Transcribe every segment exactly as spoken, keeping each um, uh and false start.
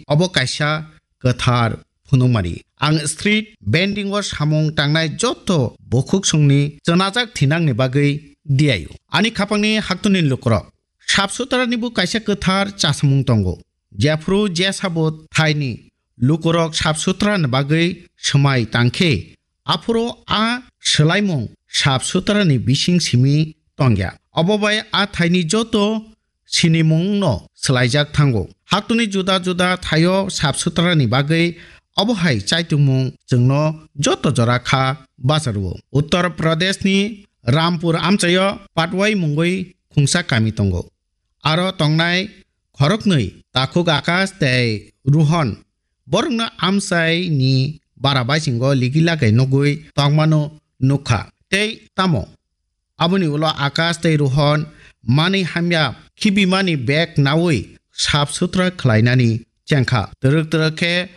obo kaisa kwthar phunukmani. Ang street vending o samung tangnai joto bukhuksongni chwnajak thinangni bagwi diaio. Ani khapangni haktuni lukurok, sap sutrani bo kaisa kwthar chasamung tongo. Jephru jesabo thaini lukurok sap sutrani bagwi swmai tangkhe, aphuru a swlaimung sap sutrani bising simi tongya. Obo bai a thaini joto sinimungno swlaijak thango. Haktuni juda juda thaio sap sutrani bagwi obo hai chaitungmung chwngno joto jora kha bacharwo. Uttar Pradeshni Rampur amchaio Patwai mungwi khungsa kami tongo. Aro tongnai khoroknwi takhuk Akash tei Rohan borokno amchaini bara baisingo ligi lagai nugwi tongmano nukha. Tei tamo aboni ulo Akash tei Rohan manwi hamya khibimani bag naui sap sutra khlainani chengkha. Twrwk twrwk khe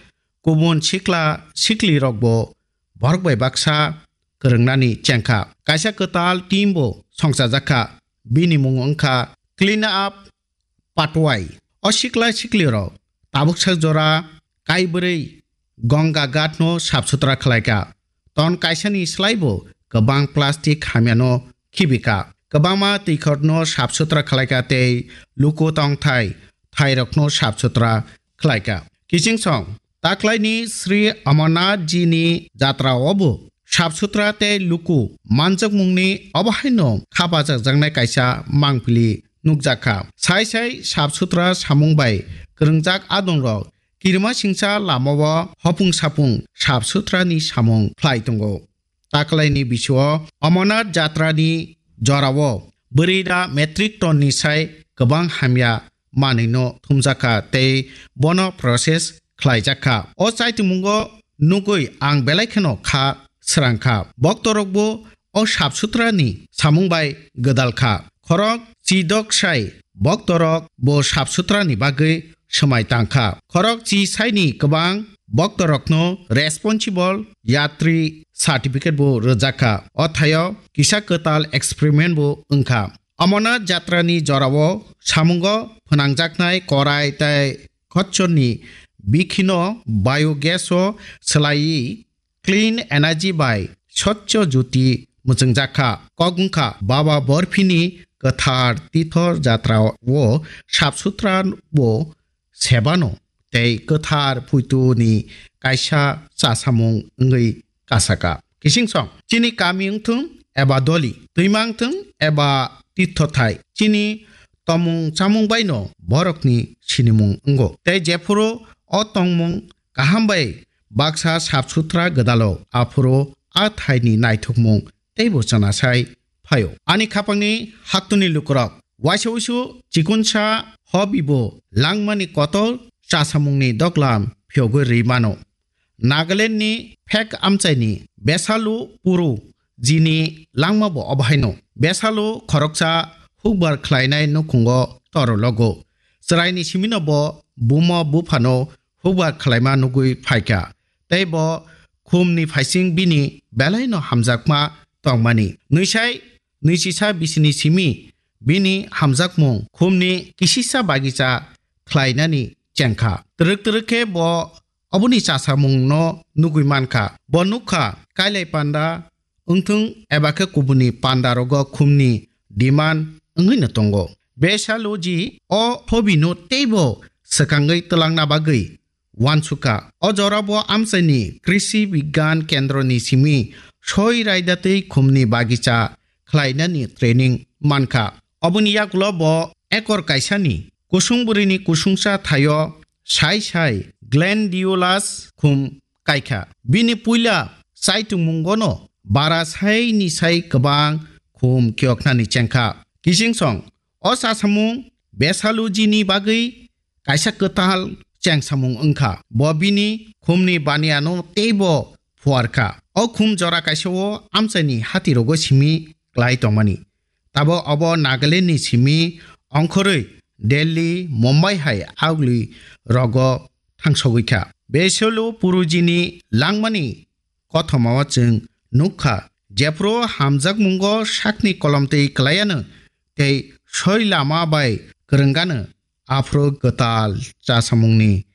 kubun sikla siklirokbo borok bai baksa kwrwngnani chengkha. Kaisa kwtal team bo songchajakha. Bini mung wngkha Clean Up Patwai. O sikla siklirok tabuksa jora kaibrwi Ganga Ghat no sap sutra khlaikha. Ton kaisani slaibo kwbang plastic hamyano khibikha. Kwbangma twikhorno sap sutra khlaikha tei luku tongthai thairokno sap sutra khlaikha. Kiching song, taklaini Sri Amarnath ji ni jatra o bo sap sutra tei luku manjakmungni obo haino kha bachakjaknai kaisa mangpili nukjakha. Sai sai sap sutra samung bai kwrwngjak adongrok kirima singcha lamao hopung sapung sap sutrani samung khlai tongo. Taklaini bisio Amarnath jatrani jorao bwrwi da metric ton ni sai kwbang hamya manwino thumjakha tei bono process khlaijakha. O chaitungmungo nugwi ang belai kheno kha srangkha. Boktorokbo o sap sutrani samung bai gwdalkha. Khorok chidok sai boktorok bo sap sutrani bagwi swmai tangkha. Khorok chi saini kwbang boktorokno responsible yatri certificate bo rwjakha. O thaio kisa kwtal experiment bo wngkha. Amarnath jatrani jorao samungo phwnangjaknai korai tei khotchorni bikhino biogas o swlaiwi clean energy bai Swachh Jyoti mwchwngjakha. Kok wngkha Baba Borphini kwthar tithor jatra o sap sutra bo sebano tei kwthar puituni kaisa chasamung wngwi kasaka. Kiching song, chini kami wngthung eba doli, twima wngthung eba tithothai, chini tomung chamung baino borokni sinimung wngo. Tei jephuru o tongmung kaham bai baksa sap sutra gwdalo, aphuru a thaini naithokmung teibo chana sai phaio. Ani khapangni haktuni lukurok, waisa uisu chikunsa hobibo langmani kotor chasamungni doklam phiyogwi rwi mano. Nagalandni phek amchaini Besalu Puru jini langmabo obo haino. Besalu khoroksa hukbar khlainai nukhungo toro logo. Chwraini simino bo buma buphano hukbar khlaima nugwi phaikha. Tei bo khumni phaising bini belaino hamjakma tongmani. Nwisai nwisisa bisini simi bini hamjakmung khumni kisisa bagisa khlainani chengkha. Twrwk twrwk khe bo oboni chasamungno nugwi mankha. Bo nukha kailai panda wngthung eba khe kubuni pandarogo khumni demand wngwino tongo. Besaluji o hobino teibo swkangwi twlangna bagwi wansukha. O jorabo amchaini Krishi Bigyan Kendroni simi soi raidatwi khumni bagisa khlainani training mankha. Oboni yagulo bo ekor kaisani kusung bwrwini kusungsa thaio sai sai glandulous khum kaikha. Bini puila chaitungmungono bara saini sai kwbang khum kiyoknani chengkha. Kiching song, o chasamung Besalujini bagwi kaisa kwtal chengsamung wngkha. Bo bini khumni baniano teibo phuarkha. O khum jora kaisa o amchaini hatirogo simi klai tongmani. Tabok obo Nagalandni simi ongkhorwi Delhi, Mumbai hai agli rogo thangsogwi kha. Besalu Purujini langmani kothomao chwng nukha, jephru hamjakmungo sakni kolomtwi klaiano tei soi lama bai kwrwngano, aphuru kwtal chasamungni